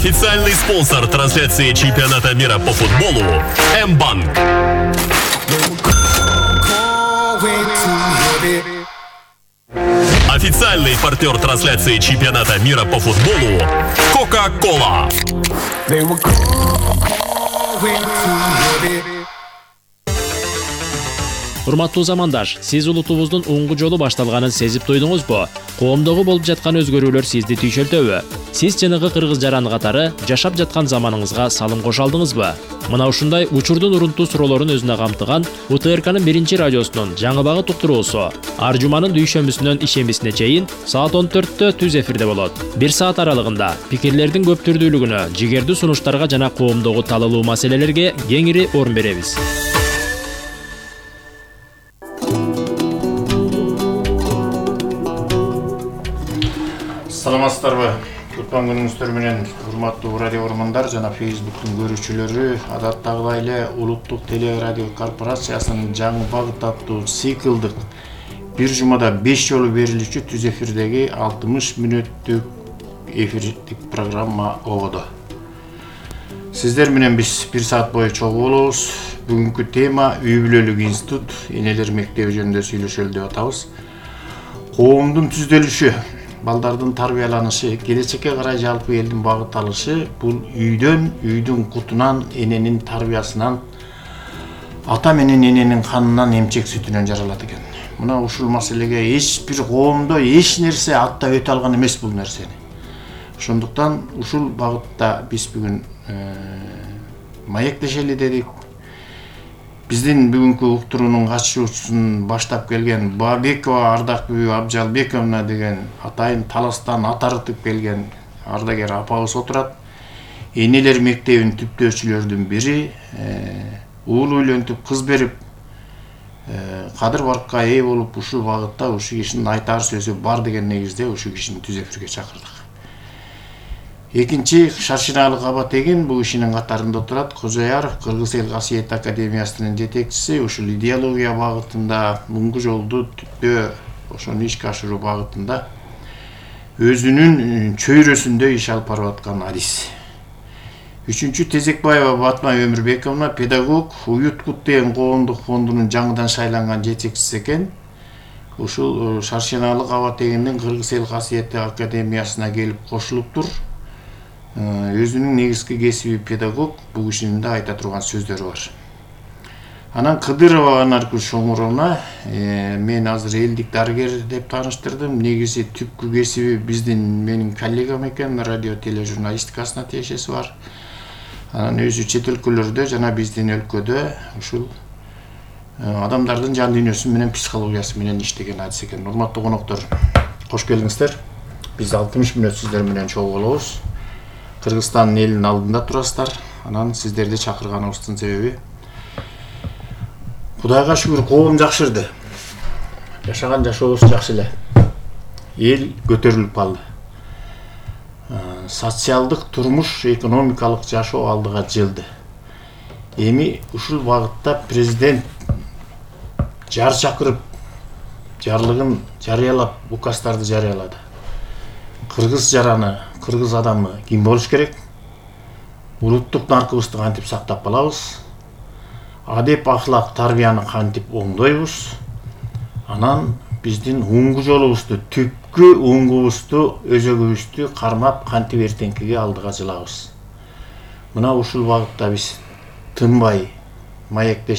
Официальный спонсор трансляции чемпионата мира по футболу М-банк. Официальный партнер трансляции чемпионата мира по футболу Кока-Кола. Урматтуу замандаш, сиз улутубуздун оңгу жолу башталганын сезип туйдуңузбу? Коомдогу болуп жаткан өзгөрүүлөр сизди түйшөлтөбү? Сиз жанагы кыргыз жаран катары жашап жаткан заманыңызга салым кошо алдыңызбы? Мына ушундай учурдун урунтуу суроолорун өзүнө камтыган УТРКнын 1-радиосунун жаңы багыт уктуруусу ар жуманын дүйшөмбүсүнөн ишембисине чейин саат 14-тө түз эфирде болот. 1 саат аралыгында пикирлердин көп түрдүүлүгүнө, жигердүү сунуштарга жана коомдогу талалуу маселелерге кеңири орун беребиз. Саламатсыздарбы? Кутман күнүңүздөр менен урматтуу радио көрөрмандар жана Facebooktун көрүүчүлөрү. Адаттагыдай эле Улуттук телерадио корпорациясынын жаңы багыт аттуу циклдык бир жумада 5 жолу берилүүчү түз эфирдеги 60 мүнөттүк эфирдик программа ободо. Сиздер менен биз 1 саат бою чогуу болобуз. Бүгүнкү тема үй бүлөлүк институт, энелер мектеби жөнүндө сүйлөшөлү деп атабыз. Коомдун түздөлүшү, балдардын тарбияланышы, келечекке карай жалпы элдин багыт алышы бул үйдүн кутунан, эненин тарбиясынан, ата менен эненин канынан, эмчек сүтүнөн жаралат экен. Мына ушул маселеге эч бир коомдо эч нерсе аттап өтө алган эмес бул нерсени. Ошондуктан ушул багытта биз бүгүн маектешели дедик. Биздин бүгүнкү уктуруунун катышуучусун баштап келген Бабекова Ардакбү Абжалбековна деген атайын Таластан ат арытып келген ардагер апабыз отурат. Энелер мектебин түптөөчүлөрдүн бири, уул үйлөнтүп, кыз берип, кадыр баркка ээ болуп, ушул багытта ушул кишинин айтар сөзү бар деген негизде ушул кишини түз эфирге чакырдык. Экинчи Шаршиналык Абатегин бул кишинин катарында отурат. Кожояров Кыргыз эл касиет академиясынын жетекчиси, ушул идеология багытында, муңгу жолду түптөө ошону ишке ашыруу багытында өзүнүн чөйрөсүндө иш алып барып аткан адис. Үчүнчү Тезекбаева Батма Өмүрбековна педагог, Уюткут деген коомдук фондунун жаңыдан шайланган жетекчиси экен. Ушул Шаршиналык Абатегиндин Кыргыз эл касиет академиясына келип кошулуптур. Өзүнүн негизги кесиби педагог, бул кишинин да айта турган сөздөрү бар. Анан Кыдырова Анаркүл Шоңуровна, мен азыр элдик дарыгер деп тааныштырдым. Негизи түпкү кесиби биздин менин коллегам экен, радио тележурналистикасына тиешеси бар. Анан өзү чет өлкөлөрдө жана биздин өлкөдө ушул адамдардын жан дүйнөсү менен психологиясы менен иштеген адис экен. Урматтуу коноктор, кош келиңиздер. Биз 60 мүнөт сиздер менен чогуу болобуз. Кыргызстан элинин алдында турасыздар. Анан сиздерди чакырганыбыздын себеби Кудайга шүгүр, коом жакшырды. Жашаган жашообуз жакшы эле. Эл көтөрүлүп калды. Социалдык турмуш, экономикалык жашоо алдыга жылды. Эми ушул багытта президент жар чакырып, жарлыгын жарыялап, указдарды жарыялады. Кыргыз жараны, кыргыз адамы ким болуш керек? Улуттук наркыбызды кантип сактап калабыз? Адеп ахлак тарбияны кантип оңдойбуз? Анан биздин оңгу жолубузду, түпкү оңгубузду, өзөгүбүздү кармап кантип эртеңкиге алдыга жылабыз? Мына ушул багытта биз тынбай маектешип